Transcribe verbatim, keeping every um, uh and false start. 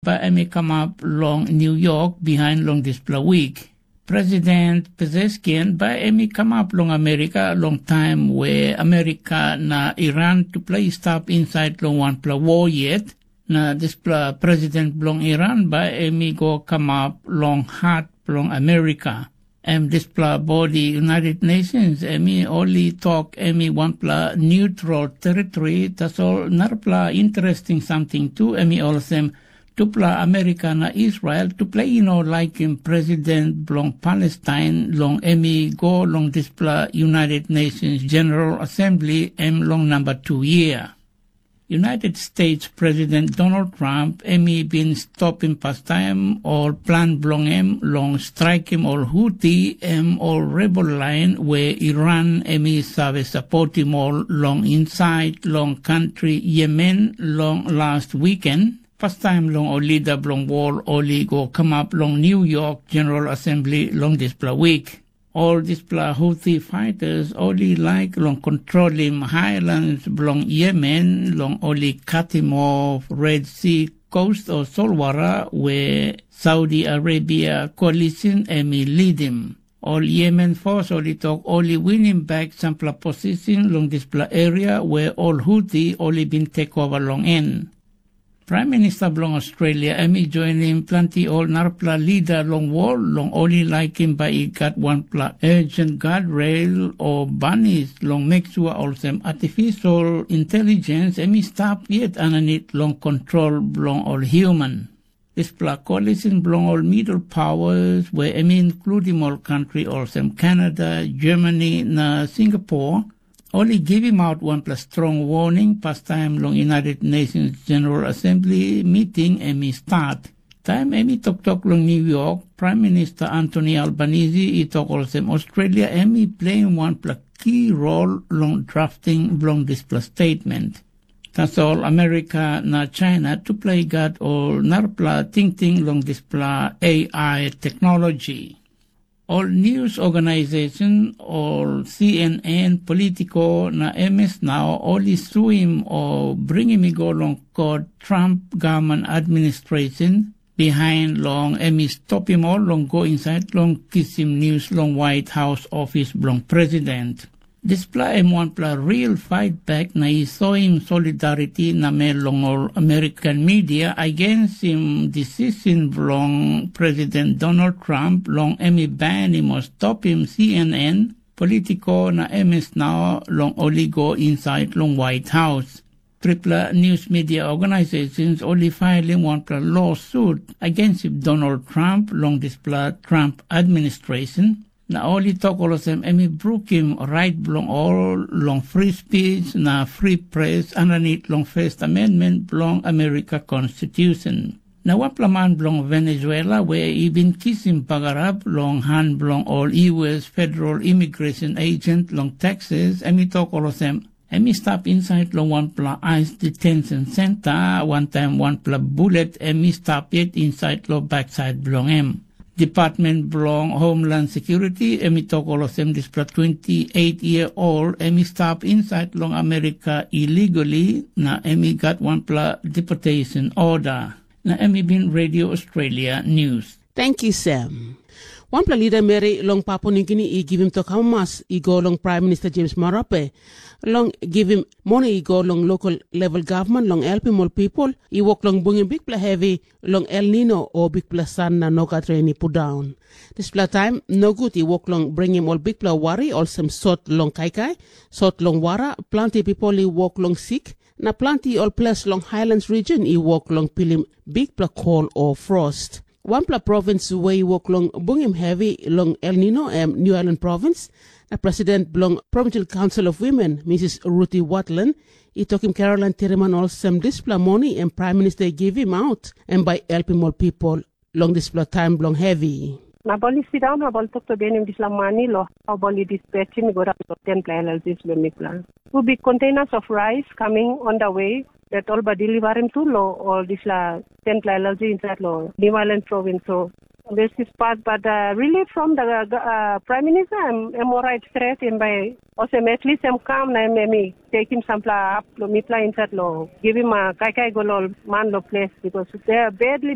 bai em i kamap long New York bihain long dispela wik. President Pezeskian bai em i kamap long Amerika long taim we Amerika na Iran tupela i stap insait long wanpela wor yet, na dispela president bilong Iran bai em i go kamap long hat bilong Amerika. Em dispela bodi United Nations em i ol i tok em i wanpela neutral teritori, tasol narapela interesting samting tu em i olsem, tupela Amerika na Israel tupela i no laikim president bilong Palestain long em i go long dispela United Nations General Assembly em long namba tu yia. United States President Donald Trump em i bin stopim pastaim ol plan bilong em long straikim ol Huti, em ol rebel lain we Iran em i save sapotim ol long insait long kantri Yemen long las wiken. Pastaim long ol lida bilong wol ol i go kamap long New York General Assembly long dispela wik. Ol dispela Houthi fighters ol i laik long kontrolim highlands bilong Yemen long ol i katim off Red Sea coast o solwara we Saudi Arabia koalisin em i lidim. Ol Yemen fos ol i tok ol i winim bek sampela posisin long dispela eria we ol Houthi ol i bin tekova long en. Pram Minista bilong Australia em i joinim planti ol narapela lida long wol long ol i laikim bai i gat wanpela urgent guardrail o banis long meksua olsem artificial intelligence em i stap yet aninit long kontrol bilong ol human. Dispela koalisin bilong ol middle powers we em i inkludim ol kantri olsem Kanada, Germany na Singapore, ol i givim aut wanpela strong warning pastaim long United Nations General Assembly meeting em i start. Taim em i toktok long New York, Pram Minista Antoni Albanisi i tok olsem Australia em i pleim wanpela ki rol long drafting bilong dispela statement. Tasol Amerika na China tupela i gat ol narapela tingting long dispela A I teknologi. Ol news organization ol C N N, Politico na M S Now ol i suim o bringim i go long kot Trump gavman administration bihain long em i stopim ol long go insait long kisim nius long White House ofis bilong president. Dispela em wanpela real fait bek na i soim solidariti namel long ol American media againsim decision bilong President Donald Trump long em i banim o stopim C N N, Politico na M S Now long ol i go insait long White House. Tripela nius media organisations ol i failim wanpela lawsut againsim Donald Trump long dispela Trump administration, na ol i tok olsem em i brukim rait bilong ol long free speech na free press aninit long First Amendment bilong Amerika Konstitusen. Na wanpela man bilong Venezuela we i bin kisim bagarap long han bilong ol U S federal immigration agent long Texas, em i tok olsem, em i stap insait long wanpela ais detention center wantaim wanpela bulet em i stap yet insait long baksait bilong em. Department bilong Homeland Security em i tok olsem dispela twenty eight year old em i stap insait long Amerika illegally na em i gat wanpela deportation order. Na em i bin Radio Australia News. Thank you, Sam. Wanpela lida meri long Papua Nugini i givim tok amamas i go long Praim Minista James Marape long givim moni i go long lokal level gavman long helpim ol pipel i wok long bungim bikpela hevi long El Nino o bikpela san na no gat ren i pundaun. Dispela taim nogut i wok long bringim ol bikpela wari olsem sot long kaikai, sot long wara, planti pipel i wok long sik, na planti ol ples long Highlands region i wok long pilim bikpela kol o frost. Wanpela provins we i wok long bungim hevi long El Nino em New Ireland provins, na president bilong Provincial Council of Women, Mrs. Ruti Watland, i tokim Caroline Tiriman olsem dispela moni em Praim Minista i givim aut, em bai i helpim ol pipel long dispela taim bilong hevi. Na ol i sindaun na ol toktok bihainim dispela mani long ol i dispatchim i go daun long tenpela L L Gs bilong mipela. Tu bik containers of rice coming on the way that ol bai deliverim tu long ol dispela tenpela L L G inside long New Island province. So This is part, but uh, relief from the uh, uh, prime minister, I'm, I'm all right straight in by. Osem, at least em kam na em, em i tekim sampela hap lo mipela inside lo givim uh, kaikai go lo man lo place because they are badly